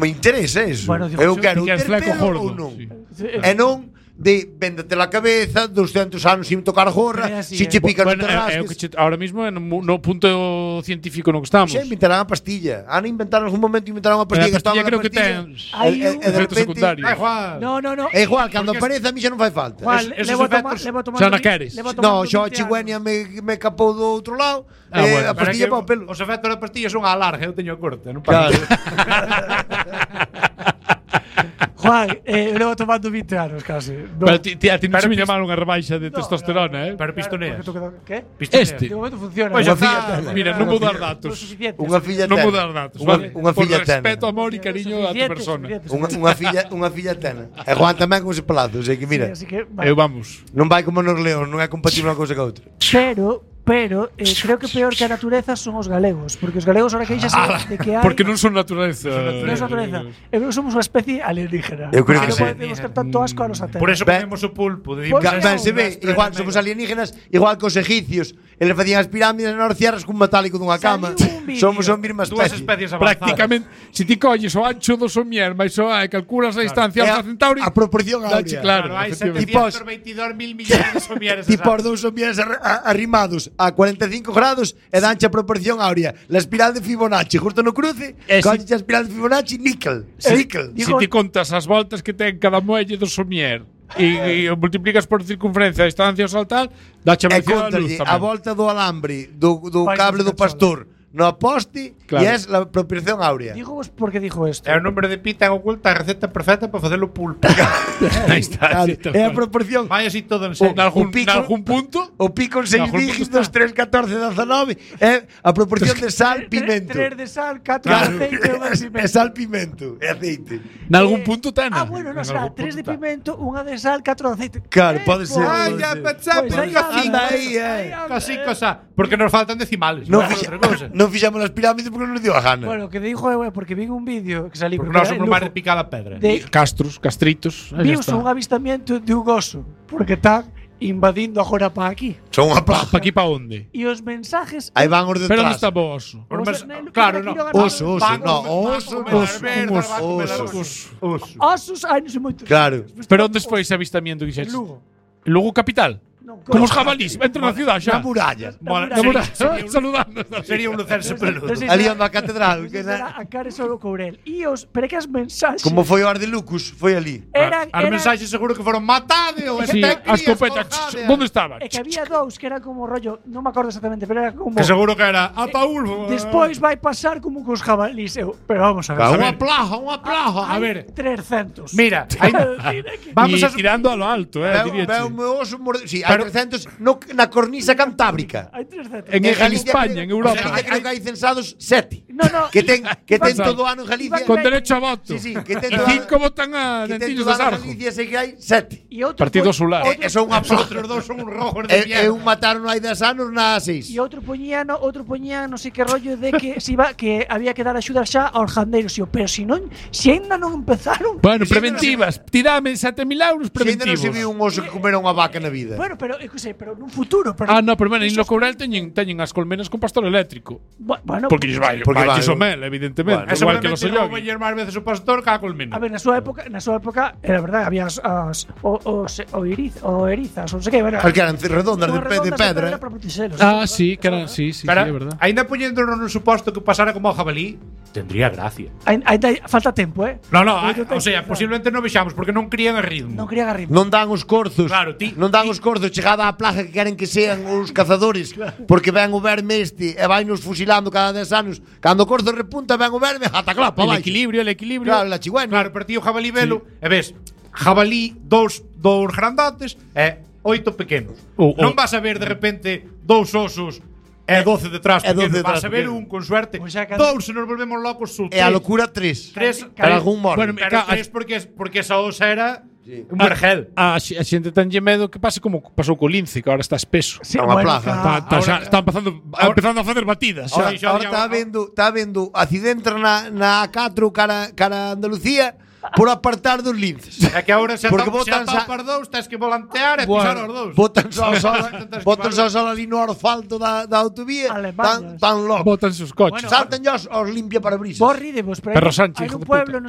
me interesa eso. Eu quero ter pelo ou non. E non de véndete la cabeza 200 anos sin tocar gorra, si che pica non te rasques. Ahora mismo no punto científico no que estamos. Xe inventarán a pastilla. Han inventado en algún momento inventaron a pastilla que estaba na creo que ten efectos secundarios. No. É igual, cando aparece a mí xa non fai falta. Levo tomando. Xa na queres. No, xa a chigüenia me capou do outro lado. A pastilla para o pelo. Os efectos da pastilla son a larga, eu teño a corta, non Claro. Juan, levo tomando 20 anos casi. Pero ti non se me llamaron unha rebaixa de testosterona, Pero pistoneas. ¿Qué? Este. De momento funciona. Unha filla tena. Mira, non vou dar datos. Unha filla Non tena. vou dar datos. Unha filla Por tena. respeto, amor e cariño a tu persona. Unha filla tena. E Juan tamén con ese palazo, sei que mira. Eu vamos. Non vai como nos león, non é compatible unha cousa ca outra. Pero creo que peor que a natureza son os galegos, porque os galegos ahora queixase de que hai. Porque non son natureza. Non son natureza. Eu creo que somos unha especie alienígena. Eu creo que non sí. podemos ter tanto asco a nosa terra. Por eso comemos o pulpo. Ben, se ve, igual somos alienígenas, igual que os egipcios. Eles facían as pirámides nas cierras cun metálico dunha cama. Somos a mesma Dúas especie. especies avanzadas. Prácticamente, se ti colles o ancho do somier, mais o e calculas a distancia Alfa Centauri, a proporción dache áurea. claro. Hai efectivamente. 722.000 millones de somieres. Tipo os dous somieres arrimados a 45 grados e danche a proporción áurea. La espiral de Fibonacci, justo no cruce, colles a espiral de Fibonacci, níquel. Níquel. Se ti contas as voltas que ten cada muelle do somier e o multiplicas por circunferencia, a distancia ao saltar, dache a E velocidade da luz contalle a tamén. volta do alambre do cable do pastor no poste Claro. e es la proporción áurea. Digo vos por que dijo esto. É o número de pi ten oculta a receta perfecta para facer o pulpo. Aí está. Claro, é a proporción. Vai así todo en serio. Nalgún punto, O pico en 6 Algún punto dígitos, 3, 14, 19 é a proporción de sal, pimento. 3 de sal, 4 de aceite e 1 de pimento. É sal, pimento e aceite. nalgún punto tena. Bueno, non será 3 de pimento, 1 de sal, 4 de aceite. Claro, pode ser. Ai, ya pensaba, Pois aí anda aí, Casi cosa, porque nos faltan decimales. Non outra cousa. fixamos as pirámides porque non nos dio a gana. Bueno, o que dijo é porque vi un vídeo que salí Porque nós somos máis de picar a pedra. Castritos. Aí Vimos está. un avistamiento de un oso, porque están invadindo agora para aquí. Son unha Pa plaga. aquí pa onde? E os mensajes Aí van os Pero onde detrás. está o oso? Claro, no. Oso, Osos, ai, non sei moito. Claro. Pero onde foi ese avistamento que dixeches? Lugo. Lugo capital? Como os jabalís, entra na ciudad xa. Na muralla. Saludando. Sería un lucerse peludo. Ali onde a catedral. A cara só o Courel. E os, pero que as mensaxes Como foi o Ardelucus, foi ali. eran As mensaxes seguro que foron matade ou Sí, a escopeta. Onde estaba? E que había dous que eran como rollo, non me acordo exactamente, pero era como Que seguro que era Ataúl. despois vai pasar como cos jabalís. Pero vamos a ver. Unha plaga. A ver, 300. mira, aí vamos a tirando a lo alto, diríache. Veo o meu oso sí, hai 300 na cornisa cantábrica. Hai 300. En España, en Europa. Galicia creo que hai censados 7. No, Que ten todo o ano en Galicia. Con derecho a voto. Sí, que ten E todo 5 votan a que ten Dentillos todo de o ano en Sarjo. Galicia sei que hai 7. E outro Partido Solar. E son unha plaga. Outros dous son uns rojos de E mierda. un mataron hai 10 anos na 6. E outro poñía non sei que rollo de que se iba que había que dar axuda xa aos gandeiros, pero se ainda non empezaron. Bueno, Si preventivas. Tirame 7.000 euros Se ainda non preventivos. se viu un oso que comera unha vaca na vida. Bueno, pero pero nun futuro, pero No, pero bueno, en lo Courel teñen as colmenas con pastor eléctrico. bueno, Porque lles vai o mel, evidentemente. Bueno, Igual que los Seguramente non Oyogi. vai máis veces o pastor que a colmena. a ver, na súa época era verdade, había erizas, non sei que, bueno, As que eran redondas unhas de redondas pedra. para protexelos. Sí, que era, sí, Pero, é verdad. ainda poñéndonos no suposto que pasara como o jabalí, tendría gracia. Ainda falta tempo, No, Moito o sea, tempo. posiblemente non vexamos porque non crían a ritmo. Non quería agarrir. Non dan os corzos. Claro, ti- non dan os corzos chegada á plaga que queren que sean os cazadores, porque ven o verme e vai nos fusilando cada 10 anos. Cando o corzo repunta ven o verme, ata clapa, El vai. equilibrio. Claro, la chigüena. Claro, pero ti o jabalí velo, e ves, jabalí, dous grandotes e 8 pequenos. Non vas a ver de repente 2 osos e 12 detrás E 12 pequenos. Vas detrás a ver pequenos. un con suerte. Pois xa 2 se nos volvemos locos su. E a locura 3. Para algún morre. Bueno, Pero 3 porque esa osa era un vergel. A xente tanlle medo que pase como pasou co lince, que ahora está espeso. Sí, Unha plaga. Está empezando a facer batidas. Ahora, xa, ahora xa, está vendo accidente na A4 cara Andalucía por apartar dos linces. É que agora xa Porque está botan xa- para dous, tens que volantear e pisar os dous. Botan só ali no asfalto da autovía. Alemañas. Tan loco. Botanse os coches. Saltan os limpia parabrisas. Vos rídevos, pero Perro hai Sánchez, un hijo de pueblo, puta.